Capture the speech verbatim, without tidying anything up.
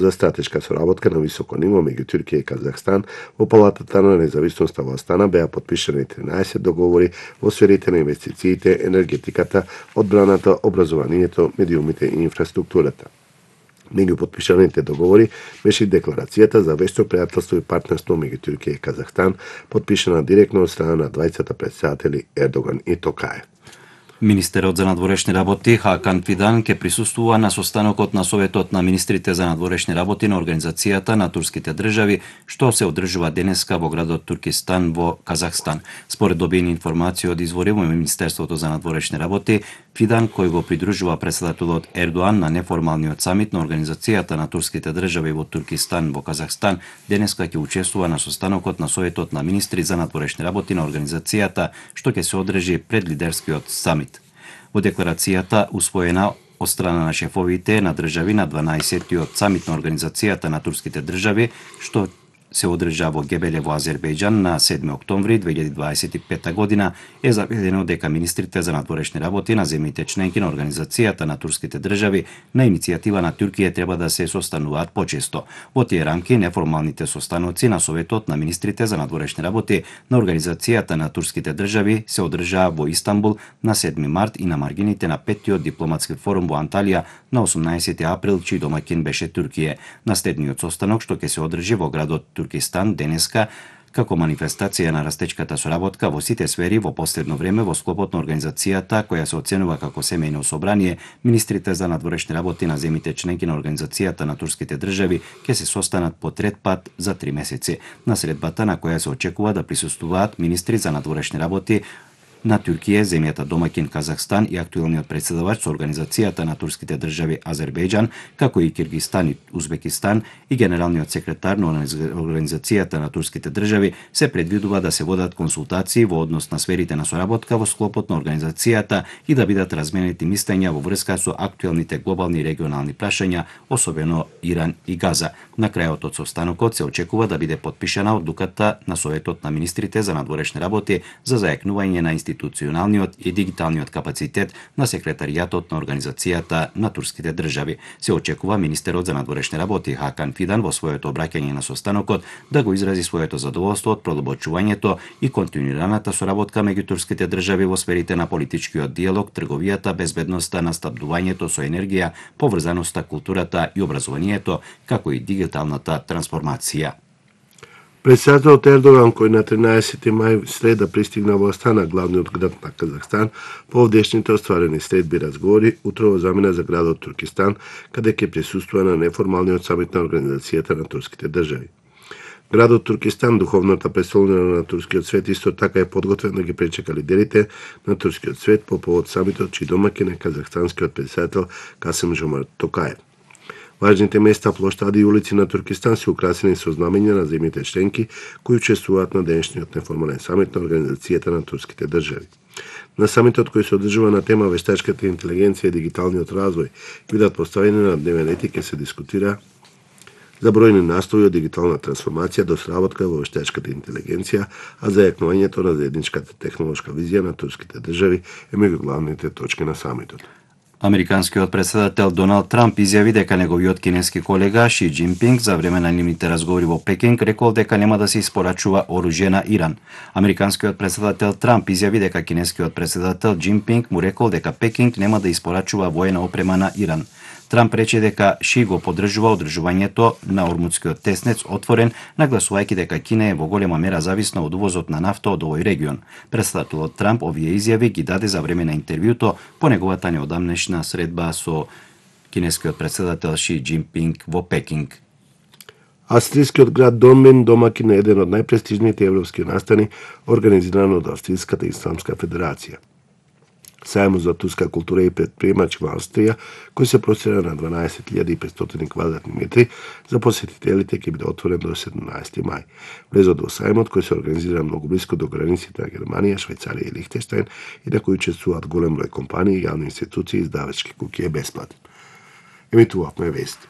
за стратешка соработка на високо ниво меѓу Туркија и Казахстан во Палатата на независноста во Астана беа потпишани тринаесет договори во сферите на инвестициите, енергетиката, одбраната, образованието, медиумите и инфраструктурата. Меѓу потпишаните договори беше и декларацијата за вещо пријателство и партнерство меѓу Туркија и Казахстан, потпишана директно од страна на двајцата претседатели Ердоган и Токаев. Министерот за надворешни работи Хакан Фидан ќе присуствува на состанокот на Советот на министрите за надворешни работи на Организацијата на турските држави, што се одржува денеска во градот Туркистан во Казахстан. Според добиени информации од извори во Министерството за надворешни работи, Фидан, кој го придружува претседателот Ердоан на неформалниот самит на Организацијата на турските држави во Туркистан во Казахстан, денеска ќе учествува на состанокот на Советот на министри за надворешни работи на Организацијата, што ќе се одржи пред лидерскиот самит. Во декларацијата усвоена од страна на шефовите на држави на дванаесеттиот самит на Организацијата на турските држави, што се одржа во Гебеле во Азербејџан на седми октомври две илјади дваесет и пета година, е заведено дека министрите за надворешни работи на земјите членки на Организацијата на турските држави на иницијатива на Туркија треба да се состануваат почесто. Во тие рамки неформалните состаноци на Советот на министрите за надворешни работи на Организацијата на турските држави се одржаа во Истанбул на седми март и на маргините на петтиот дипломатски форум во Анталија на осумнаесети април, чиј домаќин беше Туркија. Наследниот состанок што ќе се одржи во градот Туркистан денеска како манифестација на растечката соработка во сите сфери во последно време во склопот на организацијата која се оценува како семејно собрание, министрите за надворешни работи на земјите членки на Организацијата на турските држави ќе се состанат по трет пат за три месеци. На средбата на која се очекува да присуствуваат министри за надворешни работи на Туркија, земјата домаќин Казахстан и актуелниот претседавач со Организацијата на турските држави Азербејџан, како и Киргизстан и Узбекистан и генералниот секретар на Организацијата на турските држави, се предвидува да се водат консултации во однос на сферите на соработка во склопот на организацијата и да бидат разменети мислења во врска со актуелните глобални и регионални прашања, особено Иран и Газа. На крајот од состанокот се очекува да биде потпишана одлуката на Советот на министрите за надворешни работи за зајакнување на институционалниот и дигиталниот капацитет на секретаријатот на Организацијата на турските држави. Се очекува министерот за надворешни работи Хакан Фидан во своето обраќање на состанокот да го изрази своето задоволство од продолбочувањето и континуираната соработка меѓу турските држави во сферите на политичкиот диалог, трговијата, безбедноста, настапдувањето со енергија, поврзаноста, културата и образованието, како и дигиталната трансформација. Претседателот Ердоган, кој на тринаесети мај среда пристигна во Астана, главниот град на Казахстан, по овдешните остварени средби разговори, утрово замина за градот Туркистан, каде ќе присуствува на неформалниот самит на Организацијата на турските држави. Градот Туркистан, духовната престолнина на турскиот свет, исто така е подготвен да ги пречека лидерите на турскиот свет по повод самитот, чиј домаќин е казахстанскиот претседател Касим-Жомарт Токаев. Важните места, плоштади и улици на Туркистан се украсени со знамења на земјите членки кои учествуваат на денешниот неформален самит на Организацијата на турските држави. На самитот кој се одржува на тема вештачката интелигенција и дигиталниот развој бидат поставени на дневен ред и ќе се дискутира за бројни настои од дигитална трансформација до сработка во вештачката интелигенција, а зајакнувањето на заедничката технолошка визија на турските држави е меѓу главните точки на самитот. Американскиот претседател Доналд Трамп изјави дека неговиот кинески колега Ши Џинпинг за време на нивните разговори во Пекинг рекол дека нема да се испорачува оружје на Иран. Американскиот претседател Трамп изјави дека кинескиот претседател Џинпинг му рекол дека Пекинг нема да испорачува воена опрема на Иран. Трамп рече дека Ши го поддржува одржувањето на Ормудскиот теснец отворен, нагласувајќи дека Кина е во голема мера зависна од увозот на нафта од овој регион. Претседателот Трамп овие изјави ги даде за време на интервјуто по неговата неодамнешна средба со кинескиот претседател Ши Џинпинг во Пекинг. Австријскиот град Донбин домаќин е еден од најпрестижните европски настани организиран од Австријската исламска федерација. Сајмот за турска култура и предприемачи во Австрија, кој се простира на дванаесет илјади и петстотини квадратни метри, за посетителите ќе биде отворен до седумнаесети мај. Влезот во сајмот, кој се организира многу блиско до границите на Германија, Швајцарија и Лихтенштајн и на кој учествуваат голем број компании, јавни институции и издавачки куќи, е бесплатен. Емитувавме вести.